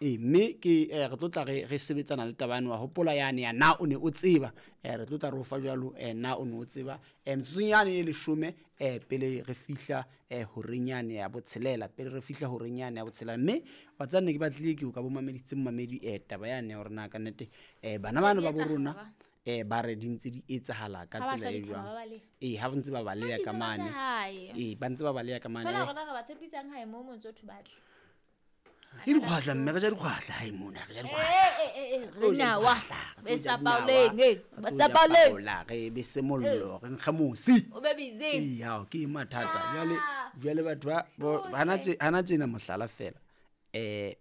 Ee, mme ke re tlo tla re sebetsana le taba yane wa hopola yane ya na o ne o tseba. Re tlo tla re o fa jwalo na o ne o tseba. Metsotsong yane e 10 pele re fihla horeng yane ya botshelela, pele re fihla horeng yane ya botshelela. Mme wa tseba ne ke batlile ke o ka bo mameditse momamedi taba yane ya hore na ka nnete bana bano ba bo rona ba re di ntse di etsahala ka tsela e jwang. Ee, ha ba ntse ba baleha ka mane. Ee, ba ntse ba baleha ka mane. Fela rona re ba tshepisang hae mo motse o thubatle. Ke dikgwahla mme re ja dikgwahla hae mona, re ja dikgwahla. Re nawa, re sa paoleng, ba sa paoleng. Re bese mollo, re nkge mosi. O be busy. Ee, hao ke mathata. Jwale jwale batho ba hana tjena mohlala fela.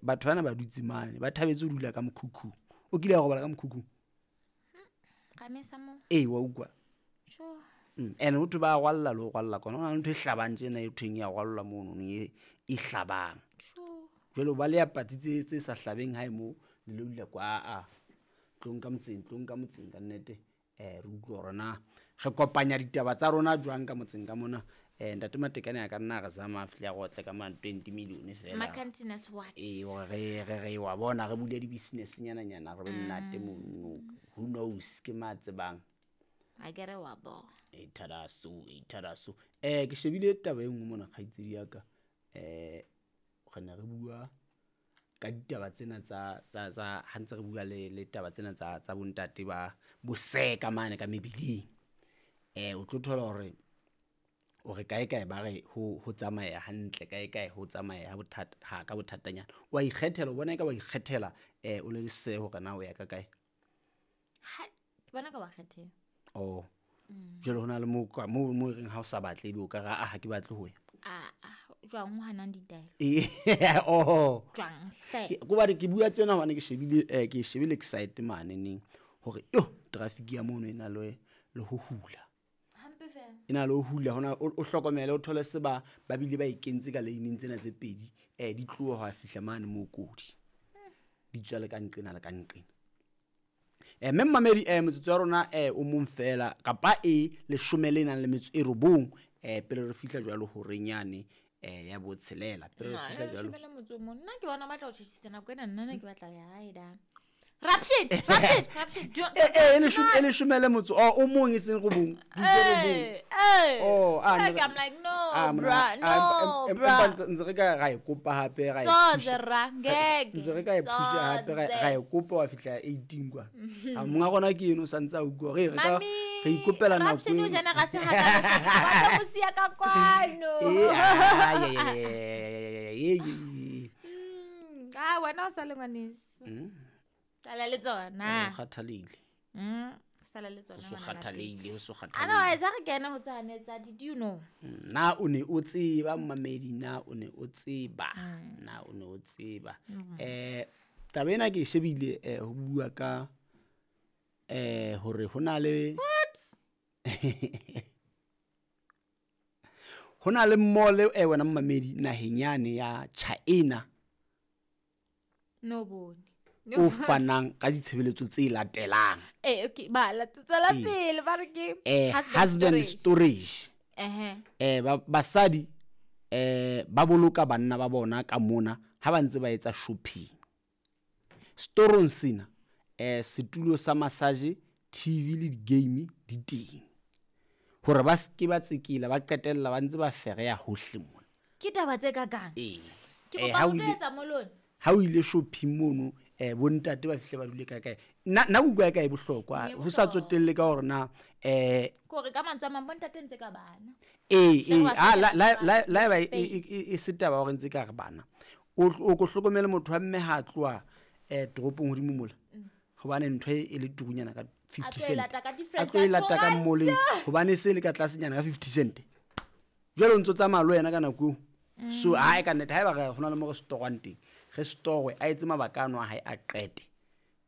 Batho bana ba dutse mane, ba thabetse ho dula ka mokhukhung. O kile wa robala ka mokhukhung? Ee, wa utlwa. Sure. Ene ho thwe ba rwalla le ho rwalla kona. Ho na le ntho e hlabang tjena e thweng ya rwallwa mono, e hlabang. Sure. Jwale ba le ya patsi tse sa hlabeng hae moo, le lo dula kwa a. Tlong ka motseng, tlong ka motseng ka nnete. Re utlwe hore na re kopanya ditaba tsa rona jwang ka motseng ka mona. Ntate Matekane a ka nna re zama a fihle a re otle ka mane 20 million fela. Makantiness what? Ee, hore re wa bona re bule di-business nyana nyana re be monate mono. Who knows ke ma tsebang. A ke re wa bona. E thadaso, e thadaso. Ke shebile taba e nngwe mona kgaitsedi ya ka. Re ne re bua ka ditaba tsena tsa tsa tsa ha ntse re bua le taba tsena tsa tsa bontate ba boseka mane ka mebileng. O tlo thola hore o re kae kae ba re ho tsamaya hantle, kae kae ho tsamaya ha bothata ha ka bothatanyana. Wa ikgethela, o bona eka wa ikgethela o le se hore na o ya ka kae. Ha ke bona ka wa kgethela. Oh. Jwale hona le mo mo reng ha o sa batle ebe o ka ra ha ke batle ho ya. A jwang o hanang ditaelo? Oh. Jwang hle. Ke ba ke bua tsena hobane ke shebile ke shebile excite mane neng hore yo traffic ya mono e na le ho hula. Hampe fela. E na le ho hula hona o hlokomele o thole se ba bile ba e kentse ka lane tsena tse pedi di tloha ho fihla mane mo kodi. Di tswa le ka nqena le ka nqena. Mme mmamedi motsotso wa rona o mong fela kapa e 10 le nang le metso e 9 pele re fihla jwalo horeng yane ya botshelela pele re fihla jwalo. 10 le motso o mong. Nna ke bona batla ho tjhetjhisa nako ena, nna ne ke batla ya hae da. Rapshit, rapshit, rapshit. E 10 le motso o mong e seng robong. Oh, I'm like no, bra, no, bra. Ntse re ka ra e kopa hape ra e. So zera ngeke. Ntse re ka e phusha hape ra e kopa wa fihla 18 kwa. Ha monga rona ke eno santse a utlwa re ka re ikopela nako. Rapshit o jana ga se ha ka ba mosia ka kwano. Ah, wena o sa le ngwaneso. Sala le tsona. O kgathalehile. Sala le tsona. O kgathalehile, o kgathalehile. Otherwise ha re kene ho tsane tsa did you know? Na o ne o tseba mmamedi, na o ne o tseba. Na o ne o tseba. Taba ena ke shebile ho bua ka hore hona le What? Hona le mall wena mmamedi naheng yane ya China. No bone. O fanang ka ditshebeletso tse latelang. Okay, ba la tswela pele ba re ke husband storage. Basadi ba boloka banna ba bona ka mona ha ba ntse ba etsa shopping. Storong sena setulo sa massage, TV le di-game di teng. Hore ba ske ba tsekela ba qetella ba ntse ba fereya hohle mona. Ke taba tse ka kang? Ke kopa ho etsa molone. Ha o ile shopping mono bontate ba fihle ba dule ka kae. Nna utlwa ka e bohlokwa ho sa tsotelle ka hore na kore ka mantswe a mang bontate ntse ka bana. La ba e setaba hore ntse ka re bana. O ko hlokomele motho wa mme ha tloha toropong hodimo mola. Hobane ntho e le turunyana ka 50 cent. A tlo e lata ka mmoleng hobane se le ka tlasenyana ka 50 cent. Jwale o ntso tsamaya le wena ka nako eo. So ha e ka nnete haeba re hona le mo re storwang teng, re storwe a etse mabaka ano a hae a qete.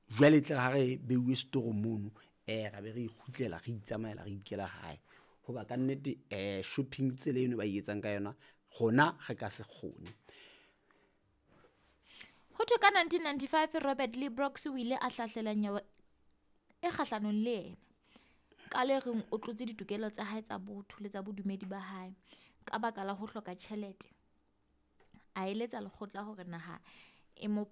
Jwale tle ha re beuwe store mono ra be re ikgutlela re itsamaela re ikela hae. Hoba ka nnete shopping tsela eno ba e etsang ka yona rona re ka se kgone. Ho thwe ka 1995 Robert Lee Brooks o ile a hlahlela nyewe e kgahlanong le yena. Ka le reng o tlotse ditokelo tsa hae tsa botho le tsa bodumedi ba hae ka baka la ho hloka tjhelete. A eletsa lekgotla hore naha e mo